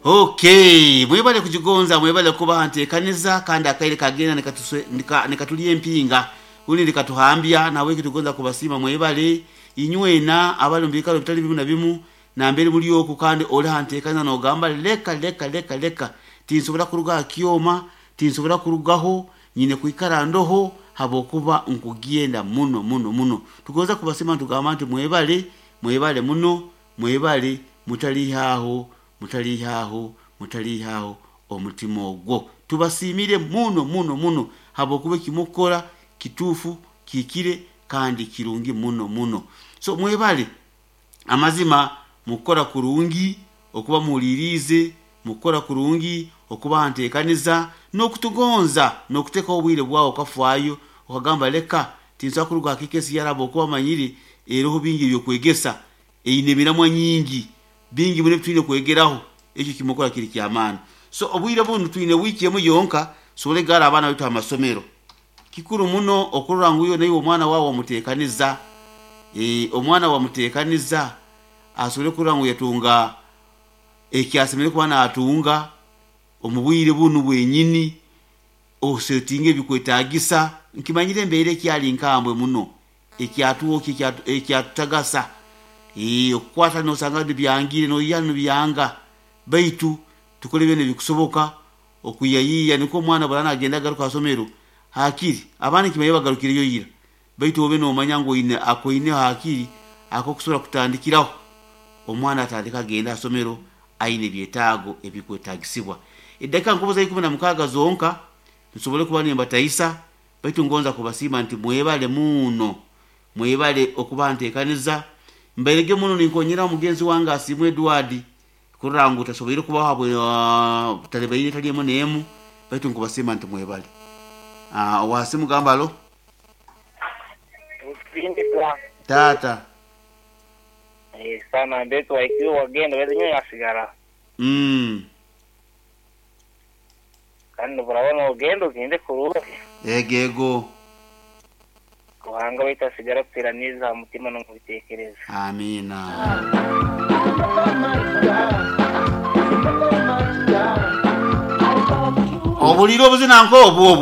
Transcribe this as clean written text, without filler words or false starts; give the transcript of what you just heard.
Okay, mwebale kugigonza, mwebale kuba ntekaniza kandi akaire kagenda nikatulya empinga undi nikatuhambya nawe kitugonza kubasiima mwebale inywena abali mu bikalo bitali bimu na bimu nambere muli oku kandi oli hantekaniza nogamba leka leka leka leka tinsobora kuruga aha kyoma, tinsobora kurugaho, nyine kwikara ndoho habwokuba nkugenda muno muno muno. Tugonza kubasiima nitugamba nti mwebale, mwebale muno, mwebale mutaliihaaho, mutaliihaaho, mutaliihaaho omutima ogwo. Tubasiimire muno muno muno habwokuba ekimukukora kituufu, kihikire kandi kirungi muno muno. So mwebale amazima mukukora kurungi, okuba muhuliriize, mukukora kurungi, okuba nteekaniza n'okutugonza n'okuteekaho obwire bwawe okafaayo okagamba leka tinsobora kuruga aha KKCR habwokuba manyire eroho bingi ebyokwegesa, eine emiramwa nyingi, bingi muno ebitwine kwegeraho, ekyo kimukora kiri ky'amaani. So obwire bunu twine wiiki emu yonka tusobole kugarra abaana baitu ha masomero. Kikuru muno okurora ngu iwe naiwe omwana waawe wamuteekaniza, omwana wamuteekaniza asobole kurora ngu yatunga eki asemeriire kuba naatunga omu bwire bunu bwenyini, osetinge ebikwetaagisa. Nkimanyire embeera ekyali nkambwe muno, ekyatwokya, ekyatutagasa, okukwata nosanga nibyangire noiha nibyanga, baitu tukole byona ebikusoboka okwihayiiya nikwo omwana obu araaba naagenda agaruka ha isomero, haakiri abandi nkimanyire bagarukireyo ira, baitu obe noomanya ngu oine akoineho haakiri ak'okusobora kutandikiraho omwana atandike agende ha isomero aine ebyetaago ebikwetaagisibwa. Edakiika nkubuza 16 zonka nsobole kuba nimbataisa, baitu ngonza kubasiima nti mwebale muno, mwebale okuba nteekaniza. Mbairege muno ninkonyeraho mugenzi wange Asiimwe Edward kurora ngu tasoboire kubaho habwa talibaine etali emu n'emu, baitu nkubasiima nti mwebale. Owa simu gamba halo. Nsindika. Taata. Sana mbetu waikiwe wagenda baitu nyowe nasigara. Kandi nobu nogenda ogende kurungi. Ego ego. Ruhanga waitu asigare akuteraniize aha mutima n'omu bitekerezo. Amiina. Obuliire obuzina nk'obwo obwo.